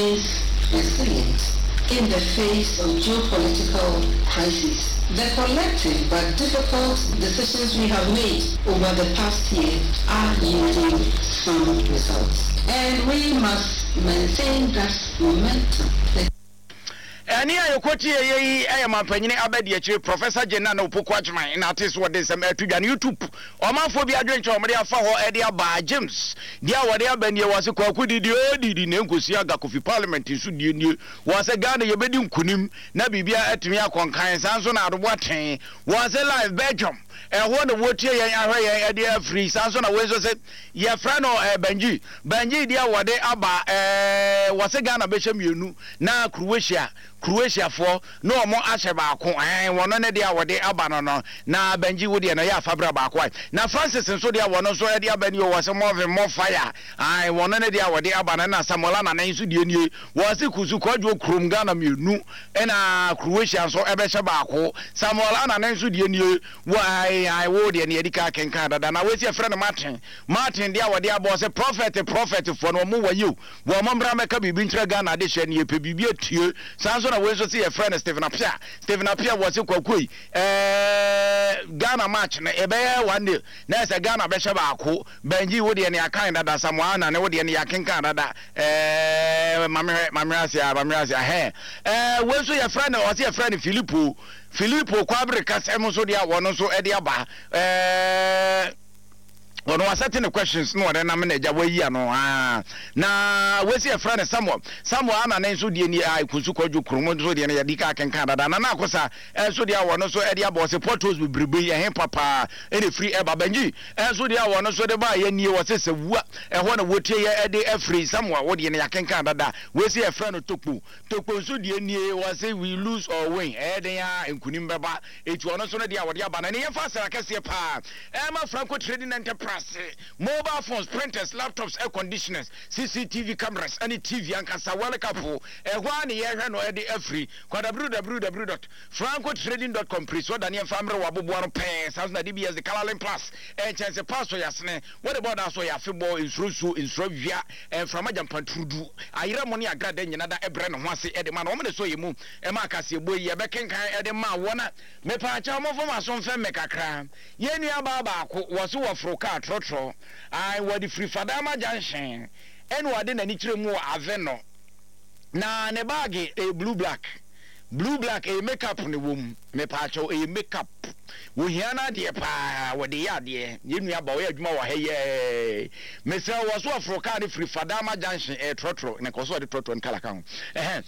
Resilient in the face of geopolitical crises. The collective but difficult decisions we have made over the past year are yielding some results. And we must maintain that momentum. The Ɛnne a yɛkɔtieeɛ yi yɛ mampanyini abadiakyire Professor Jane Nana Opoku Agyemang na ate so wɔde nsɛm ɛreto dwa no YouTube ɔmanfoɔ bi adwenkyerɛ a wɔde afa hɔ de aba James deɛ a wɔde aba nie wɔse Kwaku didi oo didi na nkosi aga Kofi Parliament nso die nie wɔse Ghana yɛbɛdi nkunim na biribiara atumi akɔ nkan saa nso na Ado Boateng wɔse live Belgium ɛhɔ na wɔtie yɛn ahwɛ yɛn de afiri saa nso na wei nso se yɛfrɛ no eh, Banji Banji deɛ wɔde aba eh, wɔse Ghana bɛhyɛ mmienu na Croatia Croatiafoɔ na wɔn ahyɛ baako ɛn wɔn ne deɛ a wɔde aba no no na Benji wo deɛ no ɛyɛ afabra baako ae na Francis nso deɛ wɔn nso ɛde aba nie wɔ sɛ Morvin more fire ae wɔn ne deɛ a wɔde aba no na Samuel Anane nso deɛ nie wɔ se Kusu Kwadwo kurom Ghana mmienu ɛna Croatia nso ɛbɛhyɛ baako Samuel Anane nso deɛ nie wɔ ae ae wo deɛ no yɛde ka kenkan dada na wɔsi ɛfrɛ no Martin Martin deɛ a wɔde abɔ sɛ prophet prophet foɔ no wɔn wɔ yiw Wɔn mmra mmɛka biribi nkyerɛ Ghana adehyeɛ no yɛpɛ biribi atie. Saa nso na wei nso se yɛfrɛ no Stephen Appiah. Stephen Appiah wɔ se Kwaku ei ɛɛɛ Ghana match no ɛbɛyɛ one nil na ɛsɛ Ghana bɛhyɛ baako. Benji wo deɛ no yɛakan dada Samoa Anane wo deɛ no yɛakenkan dada ɛɛɛ ma mehwɛ ma mehwɛ ase a ma mehwɛ ase ahɛn ɛɛ wei nso yɛfrɛ no ɔse yɛfrɛ no Filippo Filippo Kwabere Kasɛm nso deɛ a wɔn nso ɛde aba ɛɛɛ ɔno wasɛte ne questions na ɔde nam na agya wayi ano aa na wesi ɛfrɛ no Samuel Samuel ana ne nso deɛ ni a kunsu kwadwo kurom nso deɛ no yɛde ka kenkan dada na na akosa ɛnso deɛ wɔn nso ɛde abɔ ɔse potholes bebrebe yi ɛhe papaa ɛna efiri ɛba Benji ɛnso deɛ wɔn nso de ba yɛ nie wɔse sɛ wua ɛhɔ na wɔtie yɛ ɛde ɛfiri Samuel wo deɛ no yɛakenkan dada wesi ɛfrɛ no Tokpo Tokpo nso deɛ nie wɔse we lose or win ɛyɛ den a nkunim bɛba Eti ɔno nso no deɛ a wɔde aba no ɛne yɛmfa asra kɛseɛ paa ɛma Franco Trading Enterprise, mobile phones, printers, laptops, air conditioners, CCTV cameras ɛne TV ankasa World Cup ɛhɔ ara ne yɛhwɛ no ɛde afiri kɔ www dot francotrading dot com pere so da ne yɛmfa mmerɛ wɔ aboboa no pɛɛ saa nso na DBS de Colorlink Plus ɛnkyɛnse paa so yɛasene wɔde bɔɔ da so yɛ afebɔɔ nsuro nsuo nsuro awia mframa gyampanturudu ayerɛ mo ne agrada nyina da ɛbrɛ ne ho ase ɛde ma no wɔn ne so yɛ mu Ɛma kaseɛbɔ yi yɛbɛkenkan de ma wɔn a Mepaakyɛw momfa mo aso mfɛm me kakra. Yɛn nua baa baako, wɔse wɔforo kaa trɔtrɔ, ae, wɔde firi Fadama junction ɛna ɔde n'ani kyerɛ mu wɔ Aveno. Na ne baage ɛyɛ blue black, blue black, ɛyɛ make up na ɛwɔ mu. Mepaakyɛw ɛyɛ make up. Wɔhia no adeɛ paa, wɔde yɛ adeɛ. Yɛn nua ba, ɔyɛ adwuma wɔ ha yi ɛɛ. Mesrɛ wo, wɔso wɔforo kaa no firi Fadama junction, ɛyɛ trɔtrɔ, na nkɔso ɔde trɔtrɔ no kala ka ho. Ɛhɛn,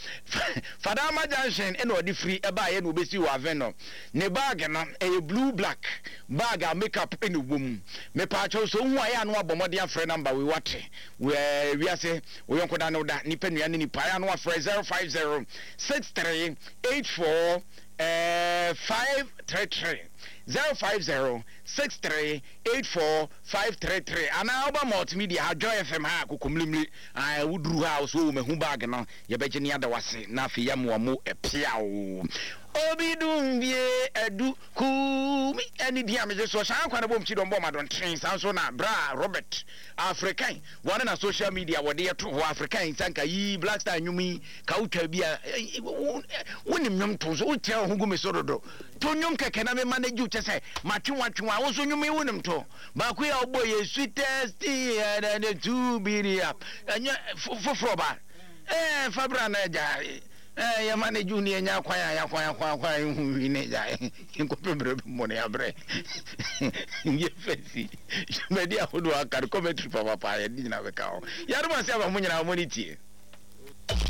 Fadama junction ɛna ɔde firi ɛbaeɛ na ɔbɛsi wɔ Avenor. Ne bag no, ɛyɛ blue black bag a make up ɛna ɛwɔ mu. Mepaakyɛw sɛ wohu a, ɛyɛ a na wabɔ mmɔden afrɛ number wei, wate? Wɔ wiase, wo yɔnko da ne wo da, nipa nua ne nipa, ɛyɛ a na wafrɛ 050 63 84 533, 050 63 84 533 anaa woba multimedia ha Joy FM ha kokomlimli ah, woduru ha a wo so oh, mahu bag no yɛbɛgye ne ada wase na afei yɛamoa mo piaw obi dumbie adu kumi ɛne din a megye soɔ hyɛ ankwa no bom kyidɔm bɔ madɔntene saa nso na bra Robert African wɔne na social media wɔde yɛto hɔ African sanka yi Black Star nnwom yi ka wotwa bi a wonim nnwom to so wokyerɛ wo ho gu me so dodo To nnwom kɛkɛ na me manage wo kyɛ sɛ matwe wo atwe wo a wo nso nnwom yi wonim to baako yi a wobɔ yɛ sweetest thing and the two be up ɛnyɛ foforɔ ba ɛɛ fa bra na agya ɛɛ yɛ manage wo ne yɛnya akwan a yɛakwan akwan akwan ehu wi ne agya nkɔpɛ mmerɛ bi mmɔ ne abrɛ yɛ fɛsi dwumadi ahodoɔ aka no commentary papapa yɛde nyina bɛka ho yɛadom ase ama mo nyinaa mo ne tie.